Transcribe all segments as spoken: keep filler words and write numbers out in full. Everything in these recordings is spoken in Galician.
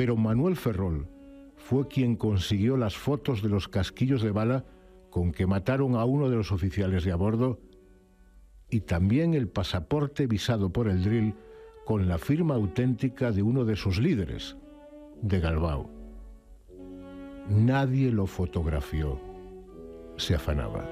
Pero Manuel Ferrol fue quien consiguió las fotos de los casquillos de bala con que mataron a uno de los oficiales de a bordo y también el pasaporte visado por el drill con la firma auténtica de uno de sus líderes, de Galbao. Nadie lo fotografió. Se afanaba.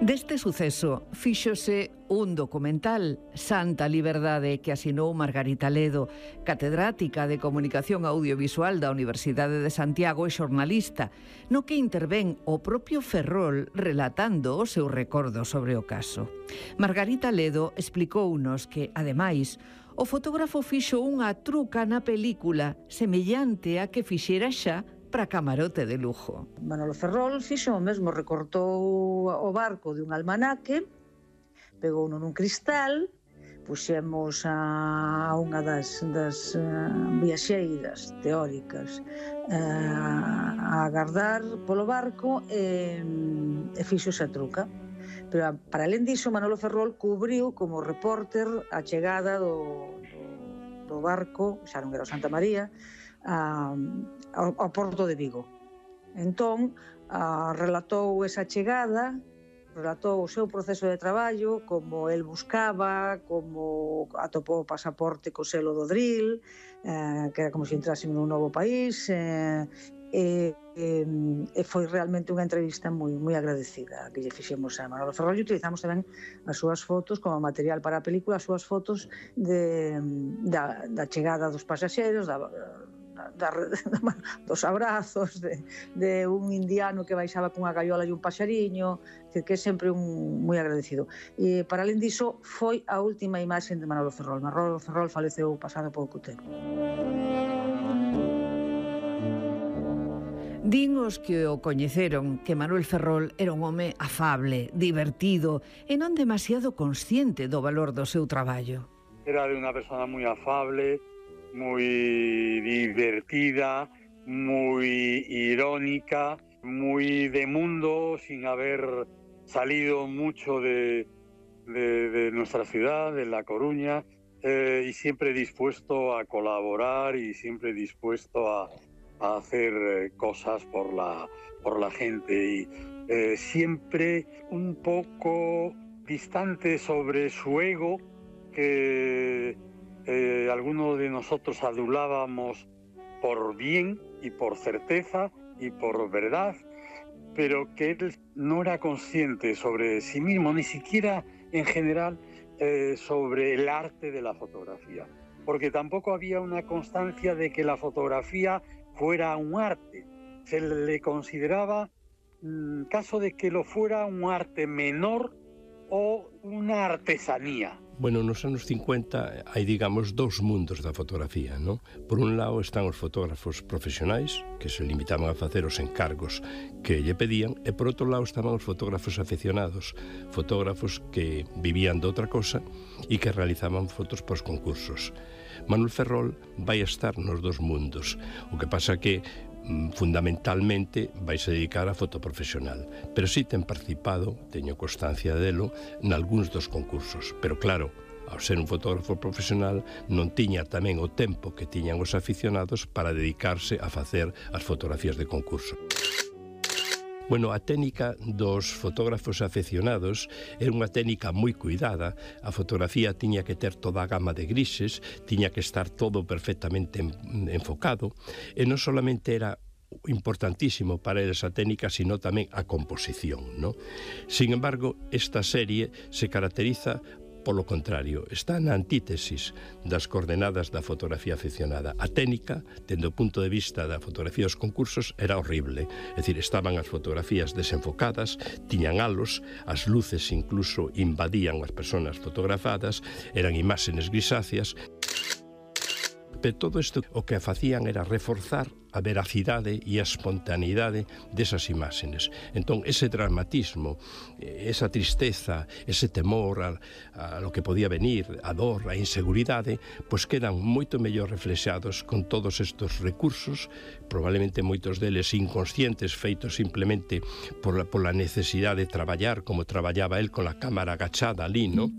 Deste suceso fíxose un documental, Santa Liberdade, que asinou Margarita Ledo, catedrática de Comunicación Audiovisual da Universidade de Santiago e xornalista, no que intervén o propio Ferrol relatando o seu recordo sobre o caso. Margarita Ledo explicounos que, ademais, o fotógrafo fixo unha truca na película semellante a que fixera xa para camarote de lujo. Manolo Ferrol fixo o mesmo, recortou o barco de un almanaque, pegou nun cristal, puxemos a unha das, das uh, viaxeiras teóricas uh, a agardar polo barco e, e fixo esa truca. Pero para alén diso, Manolo Ferrol cubriu como repórter a chegada do, do, do barco, xa non era o Santa María, a, ao, ao porto de Vigo. Entón, a, relatou esa chegada, relatou o seu proceso de traballo, como el buscaba, como atopou o pasaporte co selo do drill, eh, que era como se entrase nun novo país, eh, e, e, e foi realmente unha entrevista moi, moi agradecida que lle fixemos a Manolo Ferrol, e utilizamos tamén as súas fotos como material para a película, as súas fotos de, da, da chegada dos pasaxeros, da, Da, da, dos abrazos de, de un indiano que baixaba cunha gaiola e un paxariño, que é sempre un moi agradecido. E para alén diso, foi a última imaxe de Manolo Ferrol. Manolo Ferrol faleceu pasado pouco tempo. Din os que o coñeceron que Manuel Ferrol era un home afable, divertido e non demasiado consciente do valor do seu traballo. Era de unha persona moi afable, muy divertida, muy irónica, muy de mundo, sin haber salido mucho de, de, de nuestra ciudad, de La Coruña, eh, y siempre dispuesto a colaborar y siempre dispuesto a, a hacer cosas por la, por la gente. Y eh, siempre un poco distante sobre su ego, que Eh, algunos de nosotros adulábamos por bien y por certeza y por verdad, pero que él no era consciente sobre sí mismo, ni siquiera en general eh, sobre el arte de la fotografía, porque tampoco había una constancia de que la fotografía fuera un arte. Se le consideraba, en caso de que lo fuera, un arte menor o una artesanía. Bueno, nos anos cincuenta hai, digamos, dous mundos da fotografía, non? Por un lado están os fotógrafos profesionais, que se limitaban a facer os encargos que lle pedían, e por outro lado estaban os fotógrafos aficionados, fotógrafos que vivían de outra cosa e que realizaban fotos pos concursos. Manuel Ferrol vai estar nos dos mundos, o que pasa que fundamentalmente vais a dedicar a foto profesional, pero si ten participado, teño constancia delo, nalgúns dos concursos, pero claro, ao ser un fotógrafo profesional non tiña tamén o tempo que tiñan os aficionados para dedicarse a facer as fotografías de concurso. Bueno, a técnica dos fotógrafos aficionados era unha técnica moi cuidada. A fotografía tiña que ter toda a gama de grises, tiña que estar todo perfectamente enfocado, e non solamente era importantísimo para esa técnica, sino tamén a composición, ¿no? Sin embargo, esta serie se caracteriza polo contrario, está na antítesis das coordenadas da fotografía aficionada. A técnica, dende o punto de vista da fotografía dos concursos, era horrible. É dicir, estaban as fotografías desenfocadas, tiñan halos, as luces incluso invadían as persoas fotografadas, eran imágenes grisáceas. Pero todo isto o que facían era reforzar a veracidade e a espontaneidade desas imágenes. Entón, ese dramatismo, esa tristeza, ese temor a, a lo que podía venir, a dor, a inseguridade, pois quedan moito mellor reflexados con todos estes recursos, probablemente moitos deles inconscientes, feitos simplemente por la, por la necesidade de traballar como traballaba él con a cámara agachada ali, ¿no?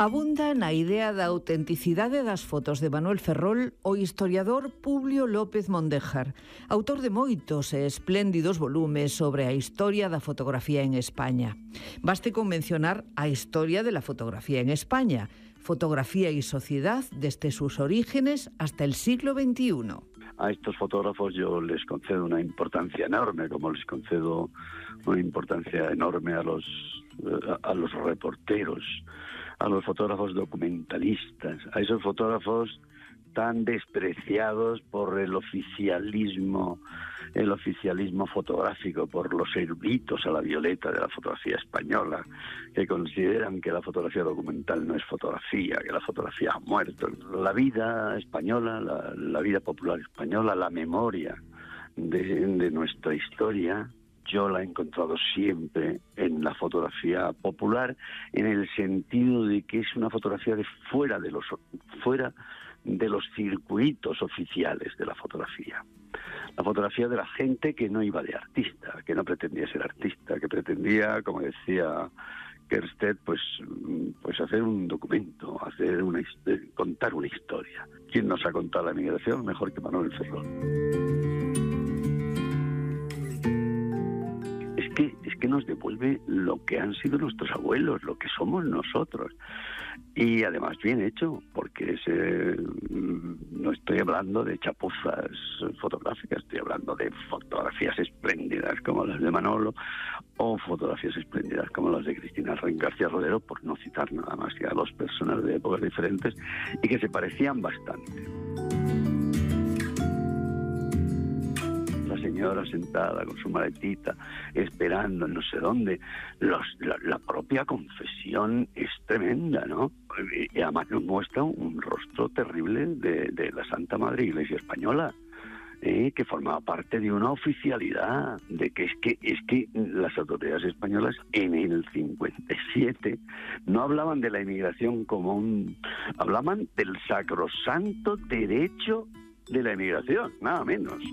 Abunda na idea da autenticidade das fotos de Manuel Ferrol o historiador Publio López Mondéjar, autor de moitos e espléndidos volumes sobre a historia da fotografía en España. Baste con mencionar a historia de la fotografía en España, fotografía y sociedad desde sus orígenes hasta el siglo veintiuno. A estos fotógrafos yo les concedo una importancia enorme, como les concedo una importancia enorme a los, a los reporteros, a los fotógrafos documentalistas, a esos fotógrafos tan despreciados por el oficialismo, el oficialismo fotográfico, por los eruditos a la violeta de la fotografía española, que consideran que la fotografía documental no es fotografía, que la fotografía ha muerto. La vida española, la, la vida popular española, la memoria de, de nuestra historia, yo la he encontrado siempre en la fotografía popular, en el sentido de que es una fotografía de fuera de los fuera de los circuitos oficiales de la fotografía. La fotografía de la gente que no iba de artista, que no pretendía ser artista, que pretendía, como decía Kerstedt, pues, pues hacer un documento, hacer una, contar una historia. ¿Quién nos ha contado la emigración mejor que Manuel Ferrol? Es que, es que nos devuelve lo que han sido nuestros abuelos, lo que somos nosotros. Y además bien hecho, porque ese, no estoy hablando de chapuzas fotográficas, estoy hablando de fotografías espléndidas como las de Manolo o fotografías espléndidas como las de Cristina García Rodero, por no citar nada más que a dos personas de épocas diferentes y que se parecían bastante. La señora sentada con su maletita, esperando en no sé dónde. Los, la, la propia confesión es tremenda, ¿no? Y además nos muestra un rostro terrible de, de la Santa Madre Iglesia Española, ¿eh? Que formaba parte de una oficialidad, de que es que es que las autoridades españolas en el cincuenta y siete no hablaban de la inmigración como un... hablaban del sacrosanto derecho de la inmigración, nada menos.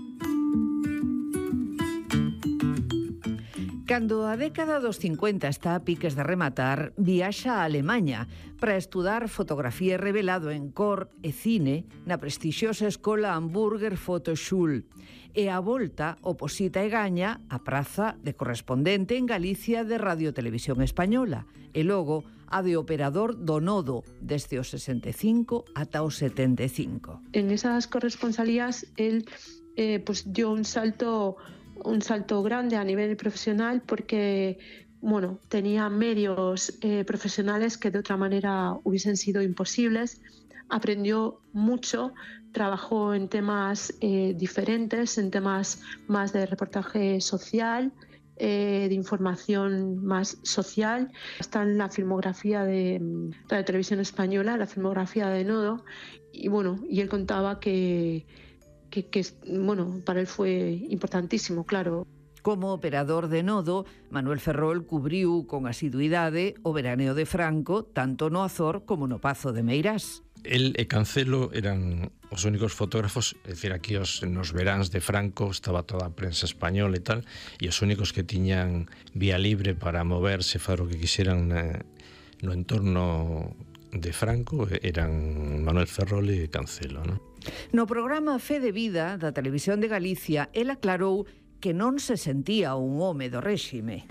Cando a década dos cincuenta está a piques de rematar, viaxa a Alemanha para estudar fotografía revelado en cor e cine na prestixiosa escola Hamburger Fotoschule e a volta oposita e gaña a praza de correspondente en Galicia de Radio Televisión Española e logo a de operador do Nodo desde os sesenta e cinco ata os setenta e cinco. En esas corresponsalías él eh, pues dio un salto un salto grande a nivel profesional porque, bueno, tenía medios eh, profesionales que de otra manera hubiesen sido imposibles. Aprendió mucho, trabajó en temas eh, diferentes, en temas más de reportaje social, eh, de información más social. Está en la filmografía de Radio Televisión Española, la filmografía de Nodo, y bueno, y él contaba que Que, que, bueno, para él fue importantísimo, claro. Como operador de Nodo, Manuel Ferrol cubriu con asiduidade o veraneo de Franco, tanto no Azor como no Pazo de Meirás. El e Cancelo eran os únicos fotógrafos, é dicir, aquí os, nos veráns de Franco estaba toda a prensa española e tal, e os únicos que tiñan vía libre para moverse, fazer o que quixeran na, no entorno de Franco eran Manuel Ferrol e Cancelo, non? No programa Fe de Vida da Televisión de Galicia, el aclarou que non se sentía un home do réxime.